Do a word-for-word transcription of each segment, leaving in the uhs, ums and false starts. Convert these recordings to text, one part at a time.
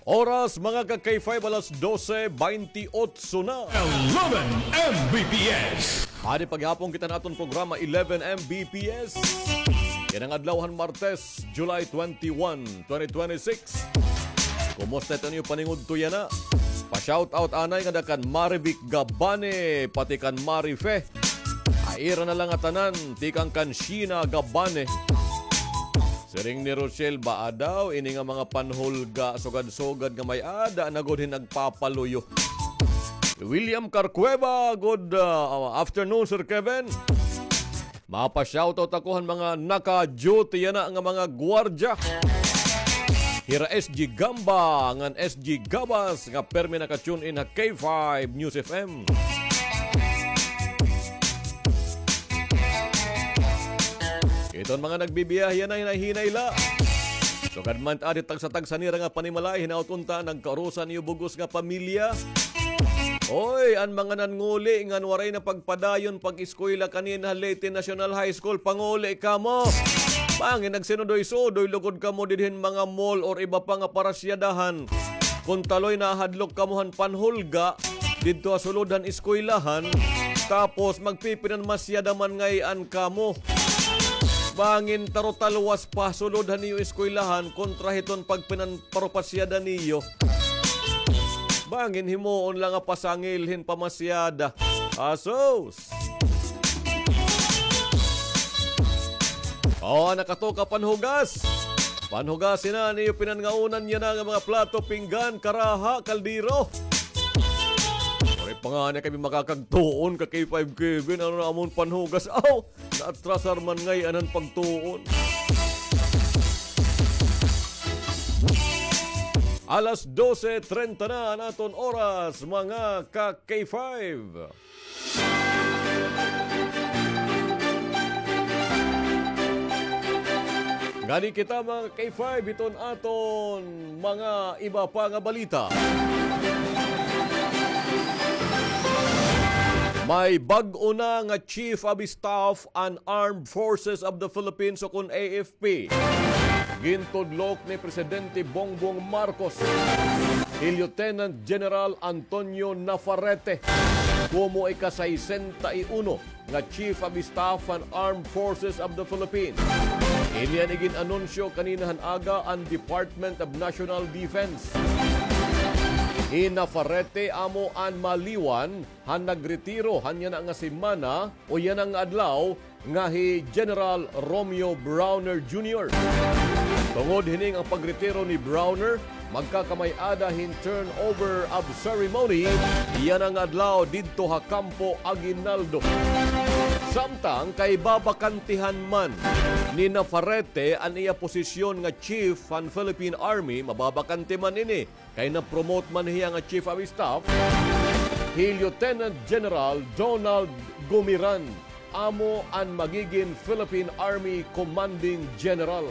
Oras, mga ka-K five, alas dose beintiotso na. Eleven M B P S. Adi pa gihapon kita han aton programa, Eleven M B P S. Yana nga adlaw han Martes, July twenty-one, twenty twenty-six. Kumusta it iyo paningudto yana? Pa-shoutout anay ngada kan Marivic Gabane, pati kan Marife. Ay, ira na la nga tanan, tikang kan Sheena Gabane. Siring ni Rochelle, baa daw ini nga mga panhulga, sugad-sugad nga may-ada na gud hin nagpapaluyo. William Carcueva, good, uh, afternoon, Sir Kevin. Mapa-shoutout ako han mga naka-duty yana nga mga gwardya. Hira S G Gamba ngan S G Gabas nga permi naka-tune in ha K five News F M. Iton mga nagbibiyahe yana, hinahinay la. Sugad man adi tagsa-tagsa nira nga panimalay, hinaot unta, nagkaurusan iyo bug-os nga pamilya. Oy, an mga nannguli ngan waray na pagpadayon pag-eskwela kanina ha Leyte National High School, panguli kamo. Bangin nagsinudoy-sudoy lugod kamo didhin mga mall or iba pa nga parasyadahan. Kon taloy nahadlok kamo han panhulga didto ha sulod han eskwelahan, tapos magpipinanmasyada man ngay-an kamo. Bangin tarutalwas pa sulod han iyo eskwelahan kontra hiton pagpinan- parupasyada niyo. Bangin himoon la nga pasangil hin pamasyada. Asus! O, nakatoka panhugas. Panhugas yana an iyo pinangaunan yana nga mga plato, pinggan, karaha, kaldero. Waray pa ngani kami makakagtuon ka K five Kevin. Ano na amon panhugas? Aw! Naatrasar man ngay-an an pagtuon. Alas dose treinta na an aton oras, mga ka-K five. Ngani kita, mga ka-K five, hiton aton mga iba pa nga balita. May bag-o na nga Chief of Staff an Armed Forces of the Philippines, ukon A F P. Gintudlok ni Presidente Bongbong Marcos hi Lieutenant General Antonio Navarrete komo ika-sesenta y uno nga Chief of Staff han Armed Forces of the Philippines. Ini an igin-anunsyo kanina han aga an Department of National Defense. Hi Navarrete amo an maliwan han nagretiro han yana nga semana o yana nga adlaw nga hi General Romeo Brawner Junior. Tungod hini nga pagretiro ni Brawner, magkakamay-ada hin turnover of ceremony yana nga adlaw didto ha Campo Aguinaldo. Samtang kay babakantihan man ni Navarrete an iya posisyon nga chief han Philippine Army, mababakante man ini kay na-promote man hiya nga Chief of Staff, hi Lieutenant General Donald Gumiran amo an magigin Philippine Army Commanding General.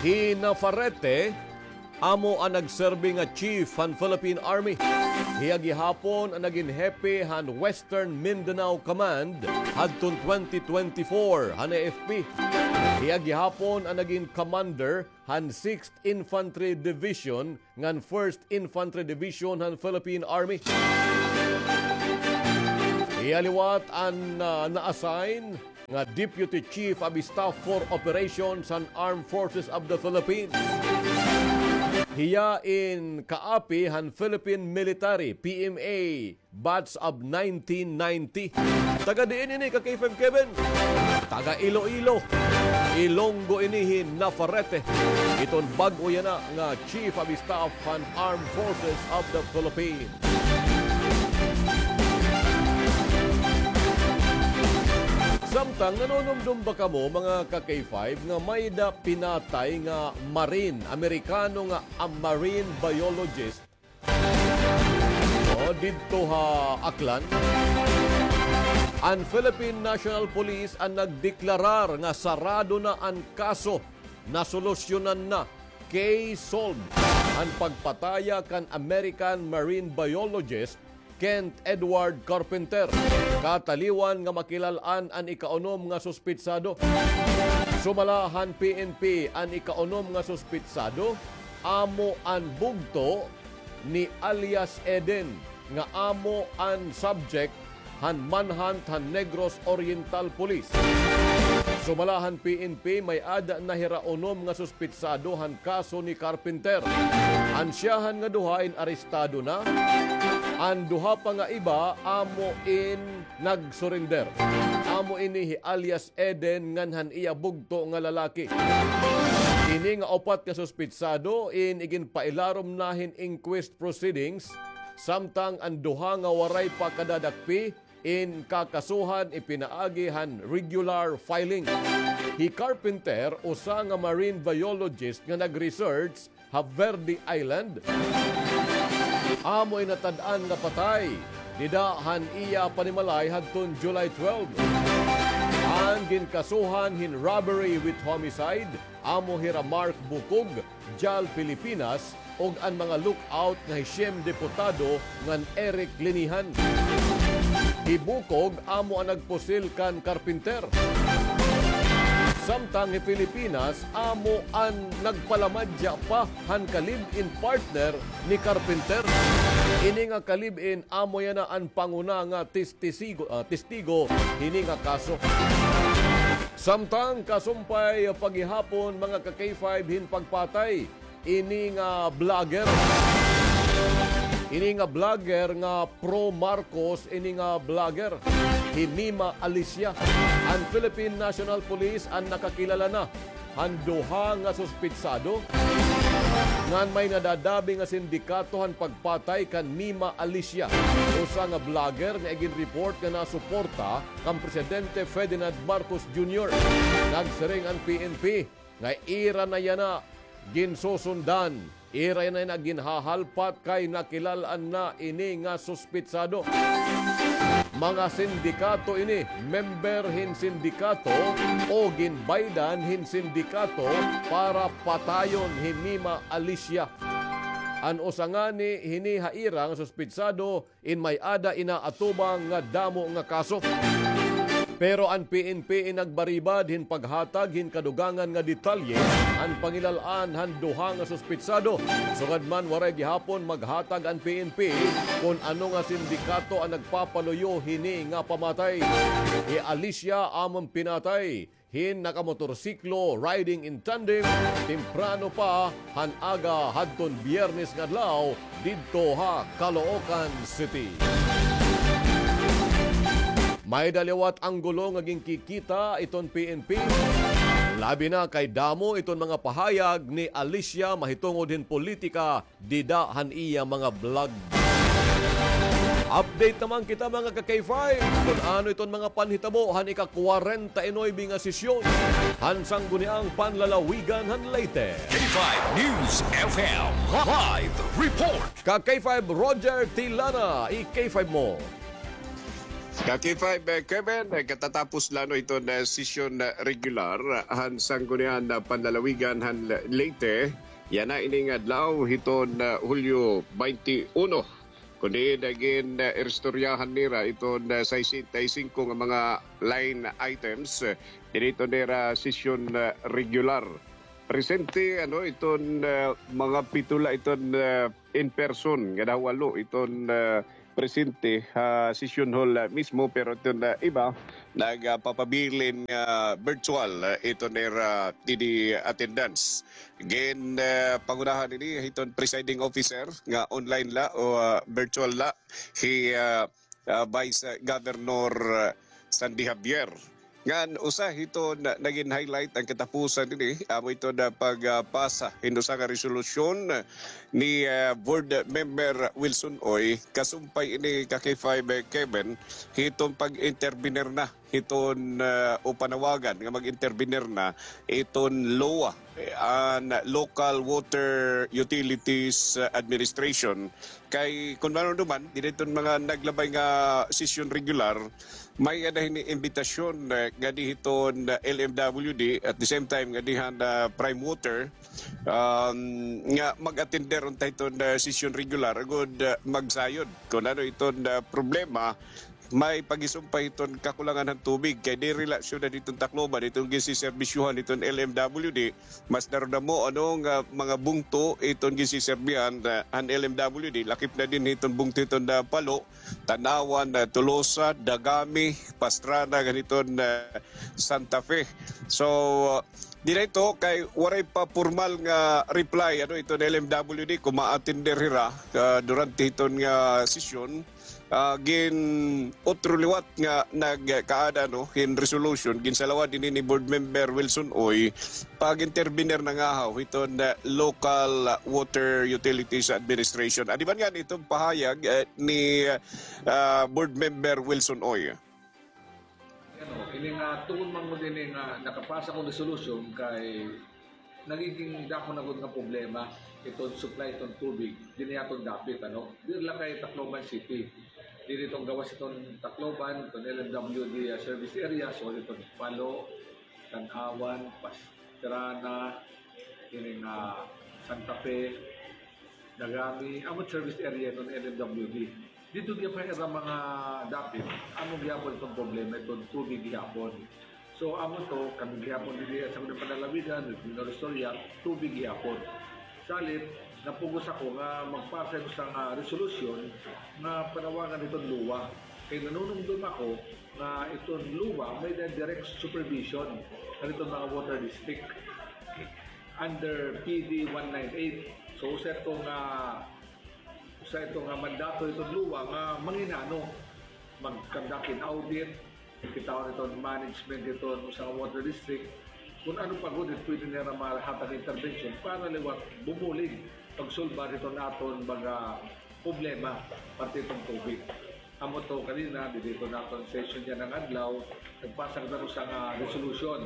Hi Navarrete amo an nagserbi nga chief han Philippine Army. Hiya gihapon an nagin hepe han Western Mindanao Command hadton twenty twenty-four han A F P. Hiya gihapon an nagin commander han Sixth Infantry Division ngan First Infantry Division han Philippine Army. Hiya liwat an, ah, na-assign nga Deputy Chief of Staff for Operations han Armed Forces of the Philippines. Hiya in kaapi han Philippine Military, P M A, batch of nineteen ninety. Taga diin ini ka K five Kevin? Taga Iloilo. Ilonggo ini hi Navarrete. Iton bag-o yana nga Chief of Staff han Armed Forces of the Philippines. Samtang nanunumdom ba kamo, mga ka-K five, nga may-da pinatay nga Marine, Amerikano nga, ah, marine biologist, o, didto ha Aklan? An Philippine National Police an nagdeklarar nga sarado na an kaso, nasolusyonan na, case solved, an pagpataya kan American marine biologist Kent Edward Carpenter, kataliwan nga makilal-an an ikaunom nga suspetsado. Sumala han P N P, an ikaunom nga suspitsado amo an bugto ni alias Eden, nga amo an subject han manhunt han Negros Oriental Police. Sumala han P N P, may-ada na hira unom nga suspitsado han kaso ni Carpenter. An syahan nga duha in arestado na. An duha pa nga iba amo in nag-surrender. Amo ini hi alias Eden ngan han iya bugto nga lalaki. Ini nga upat nga suspitsado in iginpailarom na hin inquest proceedings, samtang an duha nga waray pa kadadakpi in kakasuhan ipinaagi han regular filing. Hi Carpenter, usa nga marine biologist nga nag-research ha Verde Island, amo in natad-an nga patay dida han iya panimalay hadton July twelve. An ginkasuhan hin robbery with homicide amo hira Mark Bukog, Jal Filipinas, ug an mga lookout nga hi Shem Diputado ngan Eric Linihan. Hi Bukog amo an nagpusil kan Carpenter. Samtang hi Filipinas amo an nagpalamadya pa han ka-live-in partner ni Carpenter. Ini nga ka-live-in amo yana an panguna nga testisigo-, ah, testigo hini nga kaso. Samtang kasumpay pa gihapon, mga ka-K five, hin pagpatay ini nga vlogger. Ini nga vlogger nga pro Marcos, ini nga vlogger, hi Mima Alicia. An Philippine National Police an nakakilala na han duha nga suspitsado ngan may nadadabi nga sindikato han pagpatay kan Mima Alicia, usa nga vlogger nga iginreport nga nasuporta kan Presidente Ferdinand Marcos Junior. Nagsiring an P N P nga ira na yana ginsusundan, ira na yana ginhahalpat kay nakilal-an na ini nga suspitsado. Mga sindikato ini, member hin sindikato o ginbaydan hin sindikato para patayon hi Mima Alicia. An usa ngani hini ha ira nga suspitsado in may-ada inaatubang nga damo nga kaso. Pero an P N P in nagbaribad hin paghatag hin kadugangan nga detalye han pangilal-an han duha nga suspitsado. Sugad man, waray gihapon maghatag an P N P kon ano nga sindikato an nagpapaluyo hini nga pamatay. Hi Alicia amo an pinatay hin nakamotorsiklo riding in tandem, temprano pa han aga hadton Biyernes nga adlaw didto ha Caloocan City. May-ada liwat anggulo nga ginkikita iton P N P, labi na kay damo iton mga pahayag ni Alicia mahitungod hin politika dida han iya mga vlog. Update naman kita, mga ka-K five, kun ano iton mga panhitabo han ika-kwarenta y nuebe nga sesyon han Sangguniang Panlalawigan han Leyte. K five News F M, live report. Ka-K five Roger Tilana, i-K five mo. Ka-K five, eh, Kevin, eh, katatapos la, no, iton, eh, sesyon, eh, regular han Sangguniang, eh, Panlalawigan han Le-, Leyte. Yana ini nga adlaw hiton, ah, Hulyo baynte uno. Kundi nagin, ah, iristoryahan nira iton, ah, sesenta y singko nga mga line items, ah, diri iton nira sesyon, ah, regular. Presente, ano, iton, ah, mga pito la iton, ah, in person, nga nawalo iton, ah, presente ha session hall, ah, mismo, pero iton, ah, iba nagpapabilin nga virtual, ah, iton nira didi attendance. Gin, ah, pangunahan ini hiton presiding officer nga online la o, ah, virtual la, hi, ah, ah, Vice Governor, ah, Sandy Javier. Ngan usa hiton nagin highlight han katapusan ini, amo iton pagpasa hin usa nga resolusyon ni, ah, Board Member Wilson Uy, kasumpay ini, ka-K five, eh, Kevin, hiton pag-intervenir na hiton, ah, o panawagan nga mag-intervenir na iton LWUA, eh, an Local Water Utilities Administration. Kay kun manunuman, dida iton mga naglabay nga sesyon regular, may-ada hini imbitasyon, eh, ngadi hiton, eh, L M W D, at the same time ngadi han, ah, Prime Water, um, nga mag-attender unta hiton, ah, sesyon regular, agod, ah, magsayod kun ano iton, ah, problema may paghisumpa hiton kakulangan han tubig kay diri la syudad hiton Tacloban hiton ginsiserbisyuhan hiton L M W D. Mas darudamo, ano, nga mga bungto iton ginsiserbihan, ah, han L M W D, lakip na dinhi iton bungto iton, ah, Palo, Tanauan, ah, Tolosa, Dagami, Pastrana, ngan iton, ah, Santa Fe. So, ah, dinhi ito kay waray pa pormal nga reply, ano, iton L M W D kon maatender hira, ah, durante iton nga sesyon. Ah, gin-utro liwat nga nagkaada, no, hin resolution, ginsalawad ini ni Board Member Wilson Uy, pag-intervenir na ngahaw hiton, ah, Local Water Utilities Administration. Adi man ngani iton pahayag, eh, ni, ah, Board Member Wilson Uy. Ano, ini nga, tungod man gud ini nga nakapasa kon resolution kay nagiging dako na gud nga problema iton supply iton tubig dinhi aton dapit, ano? Diri la kay Tacloban City. Diri iton gawas iton Tacloban, iton L M W D, ah, service area, so iton Palo, Tanauan, Pastrana, ini nga Santa Fe, Dagami, amo service area iton L M W D. Didto gihapon ha ira mga dapit, amo gihapon iton problema iton tubig gihapon. So, amo to, kami gihapon didi ha Sangguniang Panlalawigan, Regional Istorya, tubig gihapon. Salit, napugos ako nga magpasa hin usa nga resolusyon nga panawagan iton LOA. Kay nanunumdom ako nga iton LOA may-ada direct supervision kan iton mga water district under P D one nine eight. So, usa ito nga, usa ito nga mandato iton LOA nga manginano, mag-conduct hin audit, kitaon iton management iton usa nga water district, kon ano pa gud it pwede nira mahatag intervention para liwat bumulig pagsulbar hiton aton mga problema parte hiton tubig. Amo to kanina, didi iton aton session yana nga adlaw, nagpasa kita hin usa nga resolution.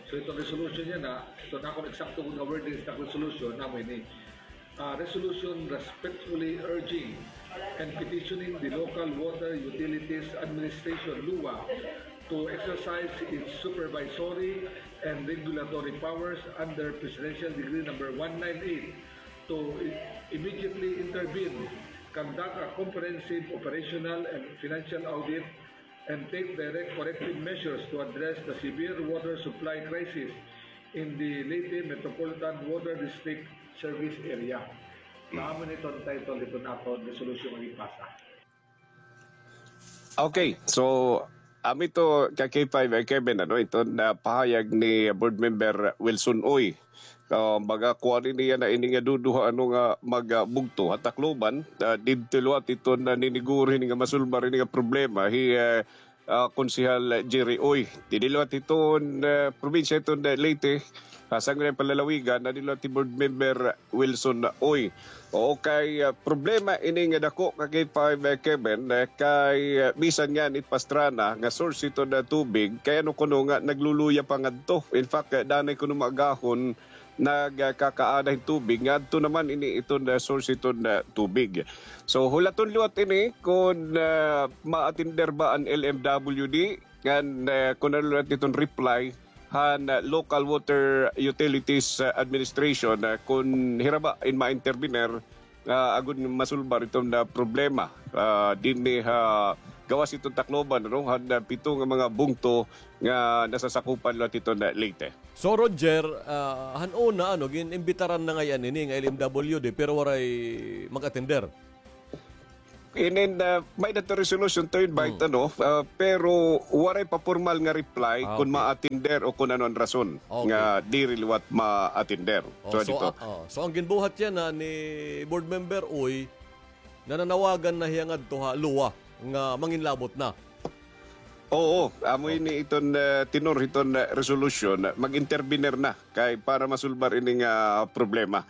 So, iton resolution yana, iton akon eksakto nga wording sa resolution, amo ini. Uh, resolution respectfully urging and petitioning the Local Water Utilities Administration, LOA, to exercise its supervisory and regulatory powers under Presidential Decree number one nine eight to i-, immediately intervene, conduct a comprehensive operational and financial audit, and take direct corrective measures to address the severe water supply crisis in the Leyte Metropolitan Water District service area. Amo ini iton title hiton aton resolution nga ipasa. Okay, so, amo ito ka K five, eh, Kevin, ano, ito na pahayag ni Board Member Wilson Uy. Ah, mga kuan ini yana, ini nga duduha, ano, nga mga bugto ha Tacloban, ah, didto liwat ito naniniguro ini nga masulbar ini nga problema hi, eh, ah, Konsehal Jerry Uy. Didi liwat iton, ah, probinsya iton, ah, Leyte, ah, Sangguniang Panlalawigan, na didi liwat hi Board Member Wilson Uy. Oo, kay, ah, problema ini nga dako ka K five, eh, Kevin, eh, kay, ah, bisan ngani it Pastrana nga source iton, ah, tubig, kay ano kuno nga nagluluya pa ngadto. In fact, eh, danay kuno maagahon nagkakaada hin tubig, ngadto naman ini iton, ah, source iton, ah, tubig. So, hulaton liwat ini kon, ah, ma-attender ba an L M W D, ngan, ah, kon ano liwat iton reply han, ah, Local Water Utilities, ah, Administration, ah, kon hira ba in ma-intervenir, ah, agon masulbar iton, ah, problema, ah, dinhi ha gawas iton Tacloban, ano, han, ah, pito nga mga bungto nga nasasakupan liwat iton, ah, Leyte. So, Roger, ah, han una, ano, gin-imbitaran na ngay-an ini nga L M W D, pero waray mag-attender. Inin, ah, may-ada ito resolution to invite, ano, ah, pero waray pa pormal nga reply kon ma-attender o kon ano an rason nga diri liwat ma-attender. So, so, dito. Ah, oh. So, an ginbuhat yana ni Board Member Uy, nananawagan na hiya ngadto ha LOA nga manginlabot na. Oo, amo ini iton, ah, tenor hiton, ah, resolution, mag-intervenir na kay para masulbar ini nga problema.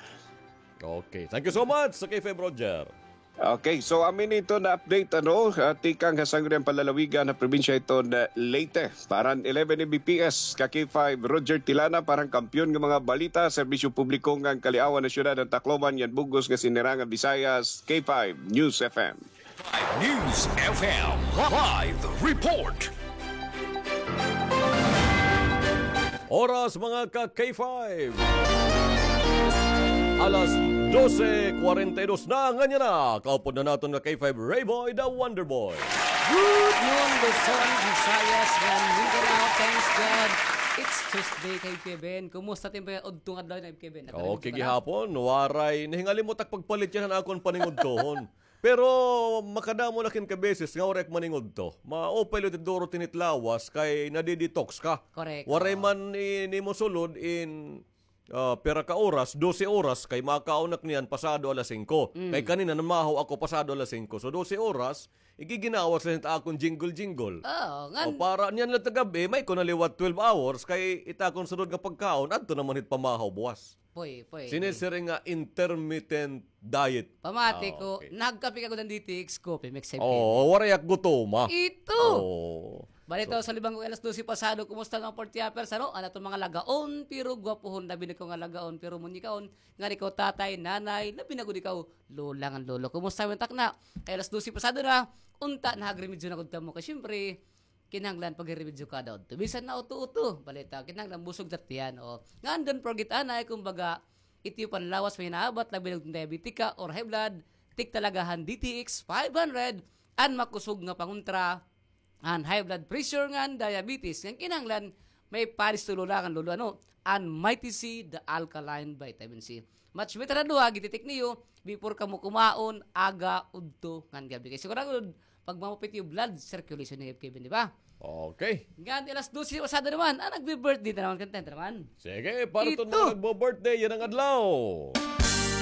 Okay. Thank you so much sa K five, Roger. Okay, so amo ini iton update, ano, ah, tikang ha Sangguniang Panlalawigan ha probinsya iton, ah, Leyte. Para han eleven A B P S, ka K five, Roger Tilana, para han Kampiyon nga mga Balita, Serbisyo Publiko ngan Kaliawan ha Syudad han Tacloban, ngan bug-os nga Sinirangan Visayas, K five News F M. K five News F M live report. Oras, mga ka K five. Alas dose kwarenta y dos na, nganyan na. Kaupod na naton nga K five Rayboy, the Wonder Boy. Good noon, Luzon, Visayas, ngan Mindanao. Thanks God. It's Tuesday kay Kevin. Kumusta it im pag-udto nga adlaw, Kevin? Okay, gihapon. Waray, nahingalimot ak pagpalit yana han akon paningudtohon. Pero makadamo na kinkabeses nga waray ak maningudto. Maupay liwat duro tinitlawas kay nadi-detox ka. Correct. Waray man in imo sulod in ah, pira ka oras, dose oras, kay makaon ak niyan pasado alas singko. Mm. Kay kanina namahaw ako pasado alas singko. So, dose oras, igiginawas la hit akon jingle-jingle. Oo, ngan- O, para niyan la ta gab-i, may ko na liwat twelve hours, kay it akon sunod nga pagkaon, adto naman hit pamahaw buwas. Puy, puy. Sinisiring nga intermittent diet. Pamati ko, nagkape ka gud han D T X Coffee Mix, Kevin. Oo, waray ak gutoma. Ito. Oo. Bali, ito, sa libang ko alas dose pasado, kumusta nga party hoppers, ano? An aton mga lagaon, pero gwapohon, labi na ko nga lagaon, pero munyikaon, ngan ikaw tatay, nanay, labi na gud ikaw, lola ngan lolo. Kumusta man takna? Kay alas dose pasado na, unta nahagremedyo na gud kamo. Kay siyempre, kinahanglan pagremedyo kada udto. Bisan na uto-uto, balita, kinahanglan busog ta tiyan, o. Ngan don't forget, anay, kumbaga, it iyo panlawas may naabat, labi na diabetic ka or high blood, take talaga han D T X five hundred, an makusog nga pangontra, an high blood pressure ngan diabetes. Ngan kinahanglan may pares to lola ngan lolo, ano, an Mighty C, the alkaline vitamin C. Match better na duha, gititik niyo, before kamo kumaon, aga, udto, ngan gab-i. Kay sigurado, pagmamupit iyo blood circulation ni Kevin, di ba? Okay. Ngan alas dose pasado naman, ah, nagbi-birthday na naman, content naman. Sige, para iton mga nagbo-birthday, yana nga adlaw.